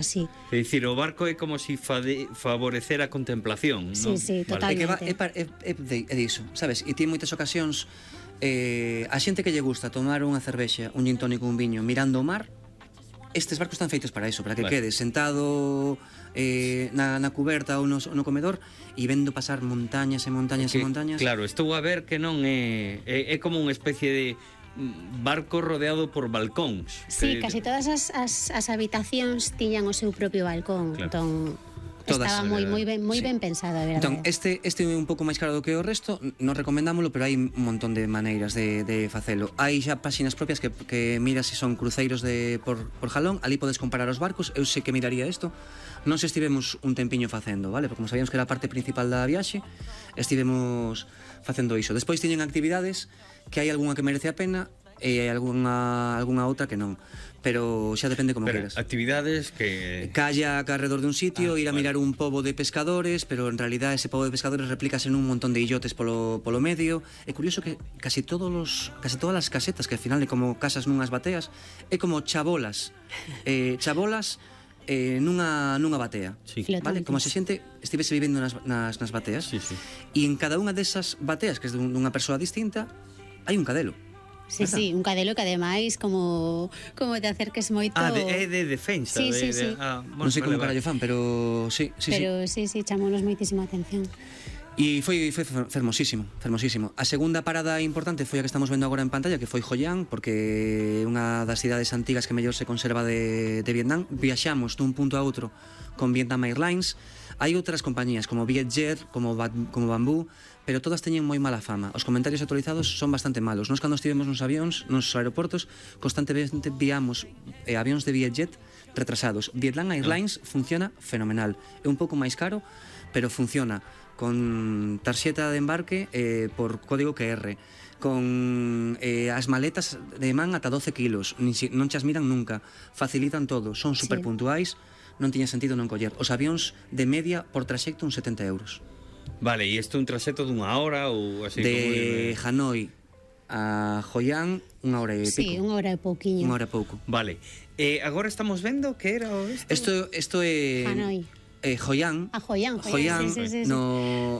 Sí. É dicir, o barco é como se favorecer a contemplación, Sí, non? sí, Vale. totalmente. É diso, sabes? E ti en moitas ocasións a xente que lle gusta tomar unha cervexa, un gin tónico, un viño mirando o mar, estes barcos están feitos para iso, para que Vale. quedes sentado na cuberta ou no comedor e vendo pasar montañas e montañas e montañas. Claro, estou a ver que non é como unha especie de barco rodeado por balcóns. Sí, casi todas as habitacións tiñan o seu propio balcón. Claro. Entón, Todas, estaba moi sí. ben pensado, a verdade. Entón, este é un pouco máis caro do que o resto, non recomendámolo, pero hai un montón de maneiras de facelo. Hai xa páxinas propias que miras se son cruceiros por jalón, ali podes comparar os barcos, eu sei que miraría isto. Non se estivemos un tempiño facendo, vale? Porque como sabíamos que era a parte principal da viaxe, estivemos facendo iso. Despois teñen actividades que hai algunha que merece a pena e hai algunha outra que non, pero xa depende como queras. Actividades que... Calla alrededor dun sitio, ir a mirar un pobo de pescadores, pero en realidad ese pobo de pescadores replícase nun montón de illotes polo medio. É curioso que casi todas as casetas, que al final é como casas nunhas bateas, é como chabolas nunha batea, Sí. vale? Como se xente estivese vivendo nas bateas. Sí, sí. E en cada unha desas bateas, que é dunha persoa distinta, hai un cadelo. Sí, verdad? sí, un cadelo que ademais como te acerques moito... É de defensa. Sí, sí, sí. Bueno, Non sei como vale, carallo fan, pero sí. Pero sí, chamounos moitísima atención. E foi fermosísimo. A segunda parada importante foi a que estamos vendo agora en pantalla, que foi Hoi An, porque é unha das cidades antigas que mellor se conserva de Vietnam. Viaxamos dun punto a outro con Vietnam Airlines. Hai outras compañías como Vietjet, como Bamboo, pero todas teñen moi mala fama. Os comentarios actualizados son bastante malos. Nos cando estivemos nos avións, nos aeroportos, constantemente viamos avións de Vietjet retrasados. Vietnam Airlines funciona fenomenal. É un pouco máis caro, pero funciona con tarxeta de embarque por código QR, con as maletas de man ata 12 kilos, non chas miran nunca, facilitan todo, son super puntuais, non tiña sentido non coller. Os avións de media por traxecto uns 70 euros. Vale, e isto é un traxecto dunha hora ou así? De Hanoi a Hoi An, unha hora e pico. Sí, unha hora e pouquiño. Unha hora e pouco. Vale, agora estamos vendo que era isto? Isto é... Hanoi. Hoi An. Hoi An, sí.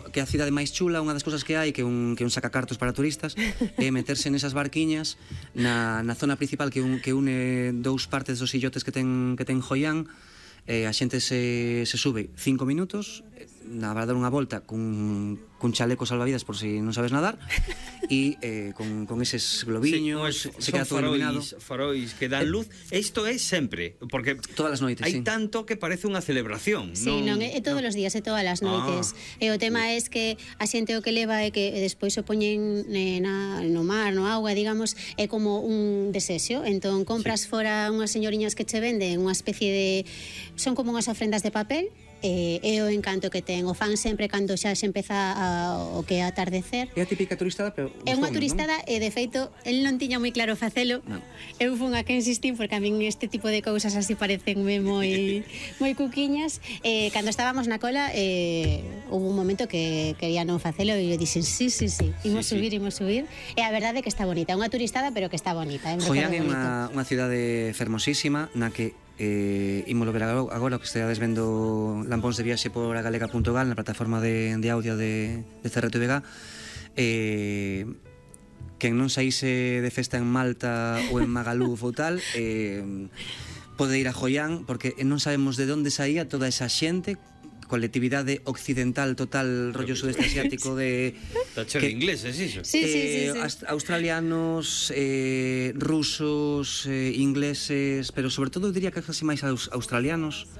Que é a cidade máis chula, unha das cousas que hai que un sacacartos para turistas é meterse nesas barquiñas na zona principal que une dous partes dos illotes que ten Hoi An. A xente se sube 5 minutos, vai dar unha volta cun chaleco salvavidas por si non sabes nadar e con eses globiños, se queda todo iluminado. Farois que dan luz. Isto é sempre, porque todas as noites, hai tanto que parece unha celebración. Sí, non é todos os días, é todas as noites. E o tema é que a xente o que leva é que despois o poñen no mar, no auga, digamos, é como un desexo. Entón compras fora unhas señoriñas que che venden unha especie de... son como unhas ofrendas de papel. É o encanto que ten, o fan sempre cando xa se empeza o que é atardecer. É a típica turistada, pero é unha turistada e de feito el non tiña moi claro facelo. Eu fun a que insistín porque a min este tipo de cousas así parecenme moi cuquiñas. Cando estábamos na cola houve un momento que quería non facelo e eu dixen sí, imos subir e a verdade é que está bonita, é unha turistada pero que está bonita. Hoi An é unha cidade fermosísima na que ímolo ver agora que estades vendo lampóns de viaxe por agalega.gal na plataforma de audio de CRTVG. Quen non saíse de festa en Malta ou en Magaluf ou tal pode ir a Hoi An porque non sabemos de onde saía toda esa xente, colectividade occidental total, rollo sudeste asiático de... Está cheo de ingleses, iso? Sí. Australianos, rusos, ingleses, pero sobre todo eu diría que casi máis australianos,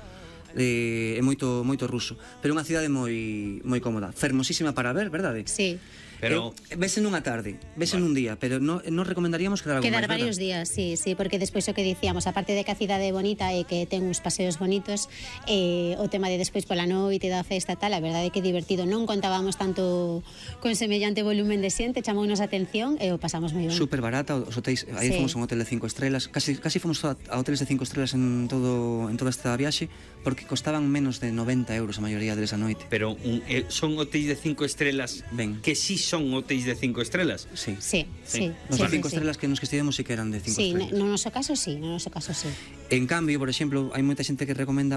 e moito ruso, pero unha cidade moi cómoda, fermosísima para ver, verdade? Sí. Pero vese nunha tarde, vese nun día, pero non recomendaríamos quedar algo máis, varios días, sí, porque despois o que dicíamos, aparte de que a cidade é bonita e que ten uns paseos bonitos, o tema de despois pola noite da festa tal, a verdade é que é divertido. Non contábamos tanto con semellante volumen de xente, chamounos a atención e o pasamos moi ben. Super barata, os hotéis, aí fomos a un hotel de 5 estrelas, casi fomos a hoteles de 5 estrelas en toda esta viaxe, porque costaban menos de 90 euros a maioría deles a noite. Pero son hotéis de 5 estrelas que sí son hotéis de 5 estrellas. Sí. Nos de 5 estrelas que nos que estivemos sí que eran de 5 estrelas. Sí, no noso caso sí. En cambio, por exemplo, hai moita xente que recomenda